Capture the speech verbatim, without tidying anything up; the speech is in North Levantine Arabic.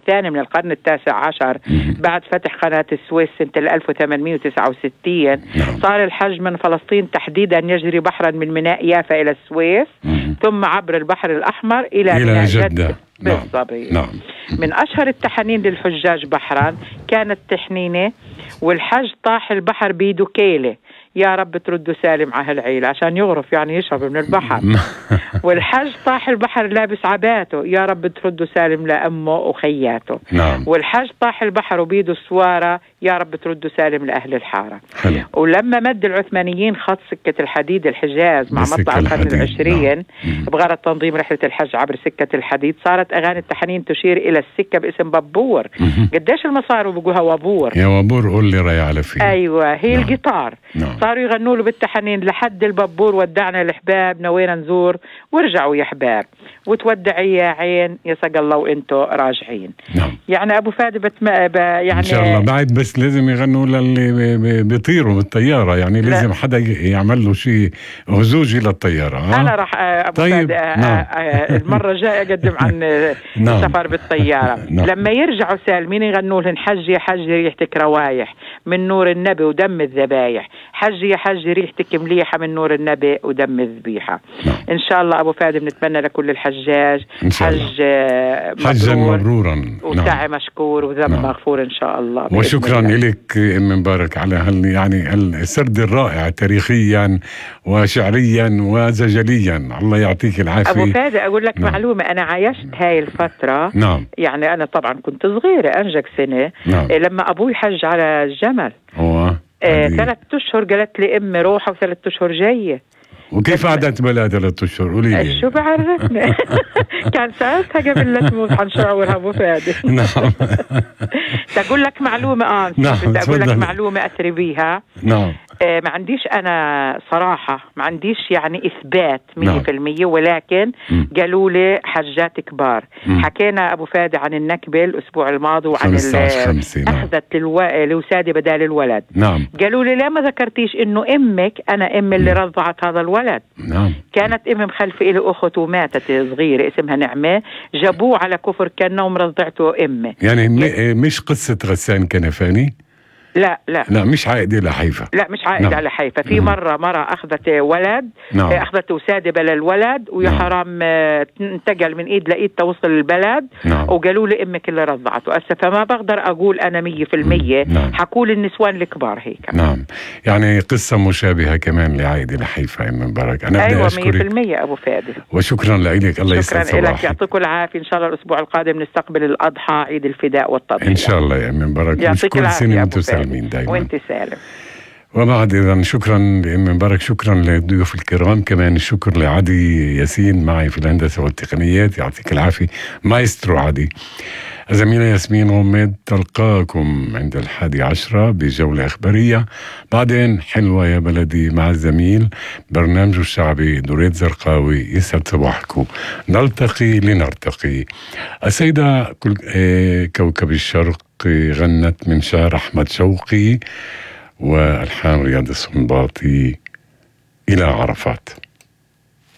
الثاني من القرن التاسع عشر بعد فتح قناة السويس سنة ألف وثمانمائة وتسعة وستين. صار الحج من فلسطين تحديدا يجري بحرا من ميناء يافا إلى السويس ثم عبر البحر الأحمر إلى, إلى ميناء جدة, جدة. بالضبط. نعم. من أشهر التحنين للحجاج بحرا كانت تحنينة والحج طاح البحر بيده كيلة يا رب تردوا سالم على هالعيلة عشان يغرف يعني يشرب من البحر. والحج طاح البحر لابس عباته يا رب تردوا سالم لأمه وخياته. نعم. والحج طاح البحر وبيده سوارة يا رب تردوا سالم لأهل الحارة. حلو. ولما مد العثمانيين خط سكة الحديد الحجاز مع مطلع القرن العشرين نعم. بغرض تنظيم رحلة الحج عبر سكة الحديد صارت أغاني التحنين تشير إلى السكة باسم بابور. قديش المصاري بيقولها وابور؟ يا وابور قول لي رأي على فيه. أيوة هي نعم. القطار نعم. صاروا يغنوا له بالتحنين لحد البابور ودعنا الحباب نوينا نزور ورجعوا يا حباب وتودعي يا عين يسق الله وانتو راجعين. نعم. يعني أبو فادي بتم... ب... يعني إن شاء الله بعد بس لازم يغنوا للي بيطيروا بالطيارة يعني لا. لازم حدا يعمل له شيء هزوجي للطيارة. ها؟ أنا راح أبو طيب. فادي نعم. المرة الجاية أقدم عن نعم. السفر بالطيارة. نعم. لما يرجعوا سالمين يغنوا لهم حج يا حج ريحتك روايح من نور النبي ودم الذبايح حج يا حج ريحتك مليحة من نور النبي ودم الذبيحة. نعم. إن شاء الله أبو فادي بنتمنى لكل الحجاج حج حجا مبرورا وسعي نعم. مشكور وذنب نعم. مغفور إن شاء الله. وشكرا لك أم مبارك على هال يعني السرد الرائع تاريخيا وشعريا وزجليا. الله يعطيك العافية أبو فادي. أقول لك نعم. معلومة أنا عايشت هاي الفترة نعم. يعني أنا طبعا كنت صغيرة أنجك سنة نعم. لما أبوي حج على الجمل هو آه ثلاث أشهر قالت لي أمي روحة وثلاث أشهر جاية. وكيف قعدت بلا ثلاث أشهر؟ قولي لي شو بعرفني. كان ساعتها قبل لا تموت حنشعورها أبو فادي. نعم. تقول لك معلومة آه نعم. تقول لك معلومة أثري بيها. نعم. آه ما عنديش أنا صراحة ما عنديش يعني إثبات مية في المية ولكن قالوا لي حجات كبار. م. حكينا أبو فادي عن النكبة الأسبوع الماضي وعن أخذت للو... لوسادة بدال الولد. نعم. قالوا لي لا ما ذكرتيش إنه أمك أنا أم اللي رضعت هذا الولد. نعم. كانت أم مخلفة إلي أخت وماتت صغيرة اسمها نعمة جابوه على كفر كنا ومرضعته أمه. يعني م... مش قصة غسان كنفاني؟ لا لا لا مش عائدة لحيفا. لا مش عائدة نعم. على حيفا. في مرة مرة أخذت ولد نعم. أخذت وسادة بلا الولد ويا نعم. حرام انتقل من إيد لإيد توصل البلد نعم. وقالوا لي أمك اللي رضعته أسا فما بقدر أقول أنا مية في المية نعم. حقول النسوان الكبار هيك. نعم يعني قصة مشابهة كمان لعائدة لحيفا أم مبارك. أنا أيوة مية في المية أبو فادي. وشكرا لك. الله يسعد صباحك. شكرا لك يعطيكم العافية. إن شاء الله الأسبوع القادم نستقبل الأضحى عيد الفداء والتضحية إن شاء الله يا أم مبارك. يعطيك العافية أبو فادي دايما. وانت سالم. وبعد إذن شكرا لأم مبارك شكرا للضيوف الكرام كمان الشكر لعدي ياسين معي في الهندسة والتقنيات يعطيك العافية مايسترو عدي. زميلة ياسمين غميد تلقاكم عند الحادي عشرة بجولة إخبارية بعدين حلوة يا بلدي مع الزميل برنامج الشعبي دوريت زرقاوي. يسعد صباحكم. نلتقي لنرتقي. السيدة كوكب الشرق غنت من شعر أحمد شوقي والحان رياض السنباطي إلى عرفات.